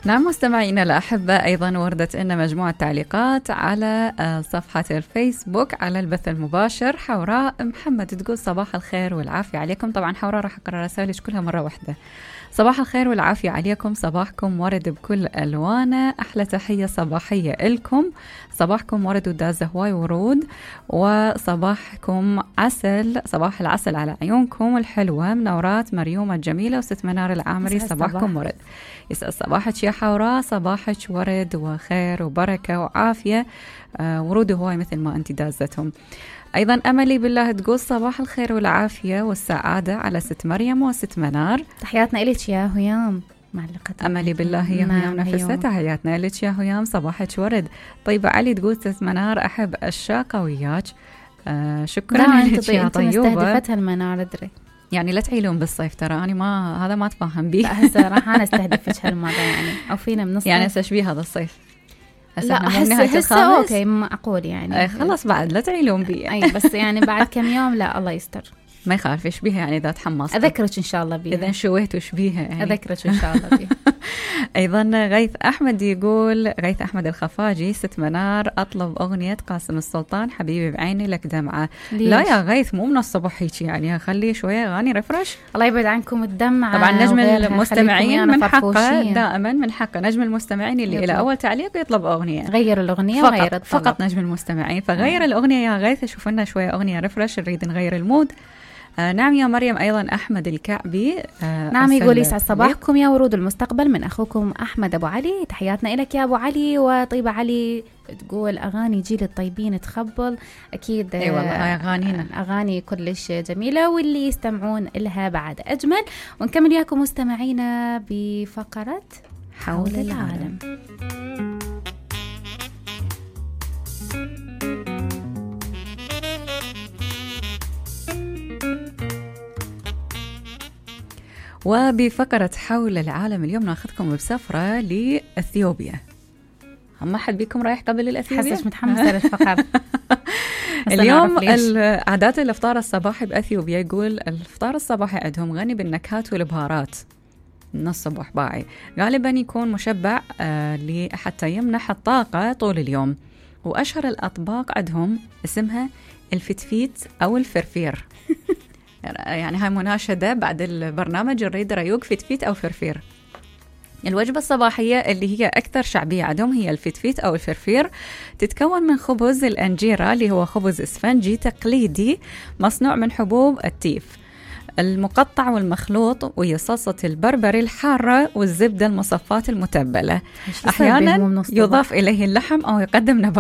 نعم مستمعينا الأحبة، أيضا وردت لنا مجموعة تعليقات على صفحة الفيسبوك على البث المباشر. حوراء محمد تقول صباح الخير والعافية عليكم. طبعا حوراء راح أقرأ رسائلك كلها مرة واحدة. صباح الخير والعافية عليكم، صباحكم ورد بكل ألوانه، أحلى تحية صباحية لكم، صباحكم ورد وداز هواي ورود، وصباحكم عسل، صباح العسل على عيونكم الحلوة. منورات مريومة الجميلة وست منار العامري، صباحكم ورد. يسأل صباحك يا حوراء، صباحك ورد وخير وبركة وعافية، ورود هواي مثل ما أنت دازتهم. أيضا أملي بالله تقول صباح الخير والعافية والسعادة على ست مريم وست منار. تحياتنا إليك يا هيام معلقة أملي بالله يا هيام نفسها، تحياتنا إليك يا هيام، صباحك ورد. طيبة علي تقول ست منار أحب الشاقة وياك. شكرا لك يا طيوبة. مستهدفتها المنار أدري، يعني لا تعيلون بالصيف، ترى أنا ما هذا ما أتفهم به. لا هسه راح أنا استهدفك هالمرة يعني، أو فينا من الصيف يعني تشبيه هذا الصيف. لا هسه أوكي معقول يعني. خلاص بعد لا تعيلون بي. أي بس يعني بعد كم يوم لا الله يستر. ما يخالف يشبيها يعني إذا تحمصت. أذكرك إن شاء الله بيها. إذا شويت وشبيها يعني. أذكرك إن شاء الله بيها. أيضا غيث أحمد يقول، غيث أحمد الخفاجي، ست منار أطلب أغنية قاسم السلطان حبيبي بعيني لك دمعة. لا يا غيث مو من الصبح هيك يعني، خلي شوية أغاني ريفرش. الله يبعد عنكم الدمعة. طبعا نجم المستمعين من حقه دائما، من حقه نجم المستمعين اللي إلى أول تعليق يطلب أغنية. غير الأغنية فقط وغير الطلب. فقط نجم المستمعين، فغير الأغنية يا غيث، شوف لنا شوية أغنية ريفرش، نريد نغير المود. نعم يا مريم. أيضا أحمد الكعبي نعم يقول يسعد صباحكم يا ورود المستقبل، من أخوكم أحمد أبو علي، تحياتنا إلك يا أبو علي. وطيبة علي تقول أغاني جيل الطيبين تخبل، أكيد. أي والله أغانينا أغاني كلش جميلة واللي يستمعون لها بعد أجمل. ونكمل وياكم مستمعينا بفقرة حول العالم. وبفقرة حول العالم اليوم ناخذكم بسفرة لأثيوبيا. ما حد بيكم رايح قبل الأثيوبيا؟ حسش متحمسة للفقرة. اليوم عادات الإفطار الصباحي بأثيوبيا، يقول الإفطار الصباحي عندهم غني بالنكهات والبهارات من الصبح باعي، غالبا يكون مشبع حتى يمنح الطاقة طول اليوم. وأشهر الأطباق عندهم اسمها الفتفيت أو الفرفير. يعني هاي مناشدة بعد البرنامج، نريد ريوق فتفيت أو فرفير. الوجبة الصباحية اللي هي أكثر شعبية عندهم هي الفتفيت أو الفرفير، تتكون من خبز الأنجيرة اللي هو خبز إسفنجي تقليدي مصنوع من حبوب التيف المقطع والمخلوط، وهي صلصة البربري الحارة والزبدة المصفاة المتبلة. أحيانا يضاف إليه اللحم أو يقدم نبات